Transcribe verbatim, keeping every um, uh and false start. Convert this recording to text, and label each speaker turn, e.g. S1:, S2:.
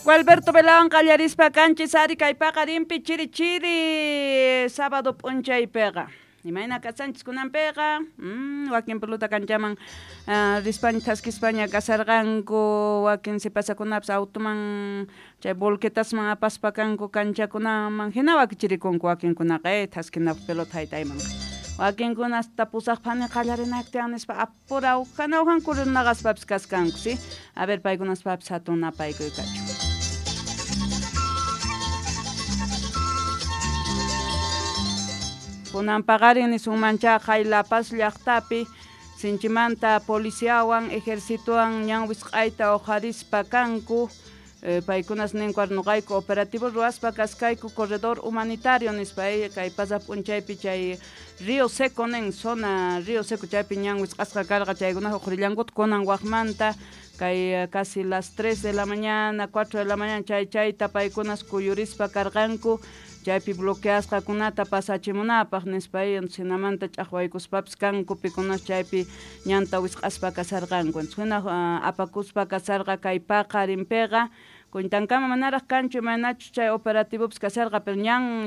S1: Gualberto Velawan qallarispa kanchis ari kay paqarinpi chiri chiri sábado p'unchaypiqa. Imayna kasanchis kunanpiqa, mm, wakin pelota kanchaman uh, rispaña thaskispaña kasarqanku, wakin sipasakunapas automan chay volquetasman apaspa kanku kanchakunaman hina wakichirikunku wakinkunaqa eh, thaskinapaq pelota haytayman. Wakinkuna hasta pusaq phani qallarinaktiyan nispa apura ujana ujan kurinaqaspapis kaskanku, si? A ver, paykunaspapis hatun napaykuy kachun. Kunan paqarin nisunmancha La Paz llaqtapi sinchimanta policiawan ejercitowan ñan wisq'ayta uqharispa kanku, eh, paykunas ninku nuqayku operativo ruwaspa kaskayku corredor humanitario nispa eh, kay pasaq p'unchaypi chay Río Seco nin zona Río Seco chaypi ñan wisq'asqa karqa chaykuna uqhrillankuta kunan waqmanta kay casi las tres de la mañana, cuatro de la mañana chay chayta paykunas kuyurispa karqanku chaypi bloqueasqakunata pasachimunapaq nispa hinamanta ch'aqwaykuspapis kanku pikunas chaypi ñanta wisq'aspa kasarqanku. Hina uh, apakuspa kasarqa kay paqarinpiqa kuntankama manaraq kanchu imaynachus chay operativopis kasarqa pero ñan